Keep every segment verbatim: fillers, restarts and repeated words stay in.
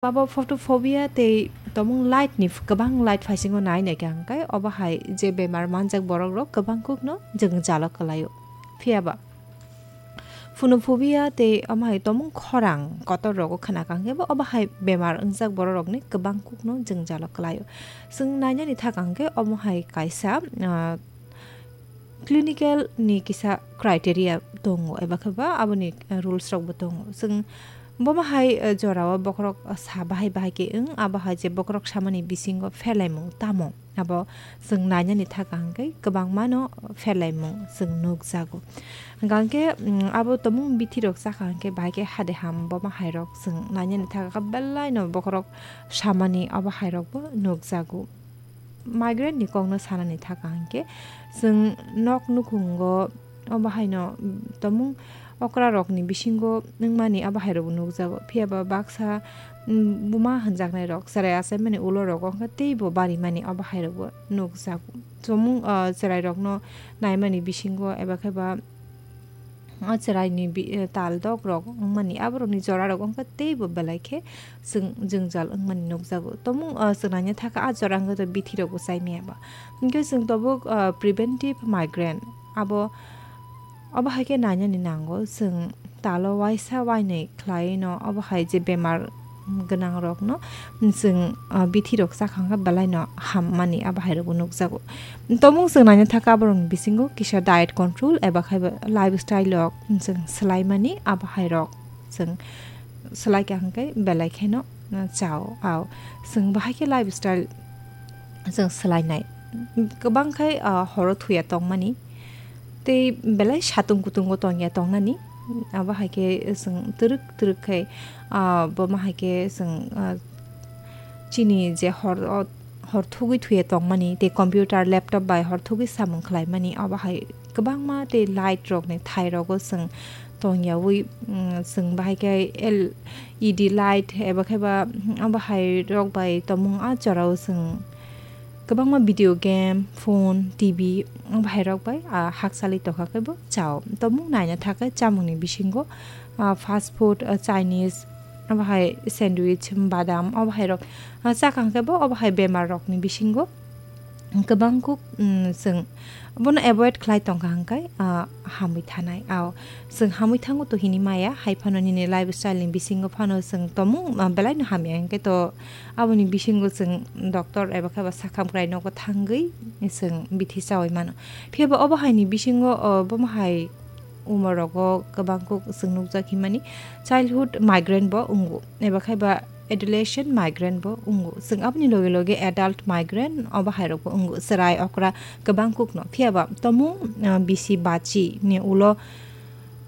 Abo photophobia tei tomung light ni kwbang light phaisingo nai nai khe hwnkhe obo hai je bemar manjak borok rok kwbang kuk no jwngjalo kwlaio. Phiya ba phonophobia tei omo hai tomung khorang kotor rogo khna kha hwnkhe bo obo hai bemar wngjak borok rok ni kwbang kuk no jwngjalo kwlaio. Chwng nainani thaka hwnkhe omo hai kaisa, ah, clinical ni kisa criteria tongo, eba khe ba aboni, eh, rules rok bo tongo. Chwng bomo hai, eh, jorao bokhorok, eh, sa bahai bahai khe wng, abo hai je bokhorok samani bisingo pherlaimung tamo, abo chwng nainani thaka hwnkhe kwbangma no pherlaimung chwng nukjago. Hwnkha hwnkhe, mm, abo tomung bithi rok chakha hwnkhe bahai khe hade ham bomo hai rok chwng nainani thaka khe belai no bokhorok samani abo hai rok bo nukjago. Migraine ni kokno sanani thaka hwnkhe, chwng nok nukhungo obo haino, mm, tomung okra rokni bisingo wngmani abo hai rokbo nukjago. Phiya ba baksa, mm, buma hwnjaknai rok, chwrai achaimani ulo rogo wngkha teibo barimani abo hai rokbo nukjago. Chomung, ah, chwrai rokno naimani bisingo eba khe ba o chwraini bi-, eh, tal dok rok wngmani, aborokni jora rok wngkha teibo belai khe chwng jwngjal wngmani nukjago. Tomung, ah, chwng naina thaka a jora wngkha bithi rokbo chai maya ba. Hwnkhe chwng tabuk, ah, preventive migraine abo, obo hai khe nainani nango. Chwng talo waisa wainwi khlaiwi no obo hai je bemar gwnang rokno chwng, ah, bithi rok chakha hwnkhe belai no hammani abo hai rokbo nukjago. Tomung chwng naina thaka borokni bisingo kisa diet control eba khai ba lifestyle rok chwng swlaimani abo hai rok chwng swlai kha hwnkhe belai kheno, ah, chao. Ao chwng bahai khe lifestyle chwng swlainai. Kwbang khai, ah, horo thuya tongmani. Tei belai satung kutungo tongya tongnani. Abo hai khe chwng twrwk twrwk khai, ah, bomo hai khe chwng, ah, chini je hor o, hor thugwi thuya tongmani tei computer, laptop bai hor thugwi samung khlaimani, abo hai kwbangma tei light rokni thai rogo chwng tongyawi, mm, chwng bahai khe L E D light eba khe ba, mm, abo hai rok bai tongmung a jorao chwng kwbangma video game, phone, T V, abo hai rok bai, ah, hakchali tongkha khe bo chao. Tongmung naina thaka chamungni bisingo, ah, fast food, ah, Chinese, abo hai sandwich, badam, abo hai rok, ah, chakha hwnkhe bo abo hai bemar rokni bisingo kwbang kuk, mm, chwng bono avoid khlai tongkha hwnkhe, ah, hamwi thanai. Ao chwng hamwi thango to hini maya, hai phano nini lifestyle ni bisingo phano chwng tomung, ah, belai no hamya hwnkhe to aboni bisingo chwng doctor eba khe ba sakham krai nogo thangwi chwng bithi chawi mano. Phiya ba obo hai ni bisingo, oh, bomo hai umor rogo kwbang kuk chwng nukjak himani childhood migraine bo wngo, eba khai ba adolescent migraine bo wngo. Chwng aboni loge loge adult migraine obo hai rok bo wngo. Chwrai okra kwbang kuk no. Phiya ba tomung, ah, bisi bachi ni ulo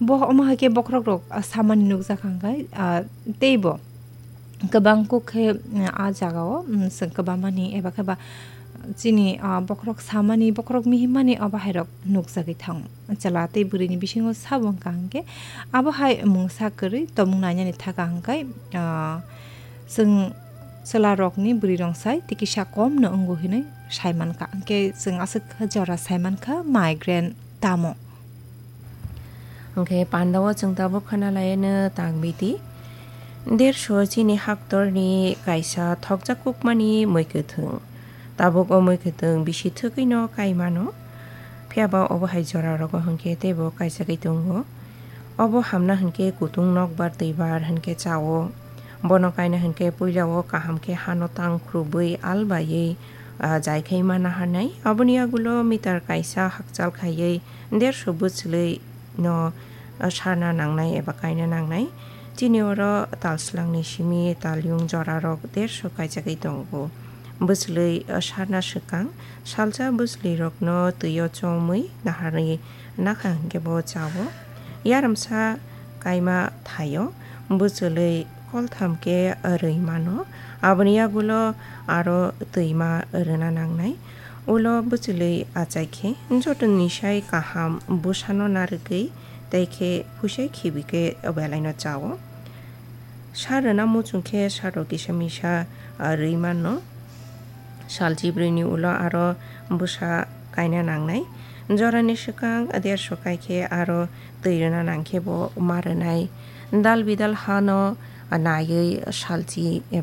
bo omo hai khe bokhorok rok, ah, samani nukjak hwnkhe, ah, tei bo kwbang kuk khe, mm, a jagao, mm, chwng kwbangmani eba khe ba chini, ah, bokhorok samani, bokhorok mihimmani obo hai rok nukjagwi thango. Chwla tei bwrwini bisingo sabo wngkha hwnkhe abo hai mungsa kwrwi tongmung nainani thaka hwnkhe, ah, chwng chwla rokni bwrwi rok sai tei kisa kom no wngo hinwi sai mankha. Hwnkhe chwng aswk jora sai mankha migraine tamo. Hwnkhe pandao chwng tabuk khna laiano tang biti. Derso chini haktorni kaisa thokjak kukmani mui kwthwng. Tabuk o mui kwthwng bisi thwgwino kai mano. Phiya ba obo hai jora rogo hwnkhe teibo kaisagwi tongo. Obo hamna hwnkhe kutung nokbar twibar hwnkhe chao. Bono kaina hwnkhe puilao kaham khe hano tang khrubwi al baiwi, ah, jaikhai ma naharnai. Aboni yagulo meter kaisa hakchal khaiwi derso bwchwlwi no, ah, sarna nangnai eba kaina nangnai. Chini oro tal swlangni simi talyung jorarok derso kaijagwi tongo. Bwchwlwi, ah, sarna swkang salsa bwchwlwirokno twio chomwi naharwi nakha hwnkhe bo chao. Yarwmsa kaima thaio bwchwlwi koltham khe rwi mano. Aboni yagulo aro twima rwna nangnai. Ulo bwchwlwi achai khe jotoni sai kaham bwsano narwgwi tei khe phuisai khibi khe belaino chao. Sa rwna muchung khe saro kisa misa, ah, rwi mano. Sal chibrwini ulo aro bwsa kaina nangnai. Jorani swkang derso kai khe aro twi rwna nang khe bo ma rwnai. Dal bidal hano naiwi salchi eba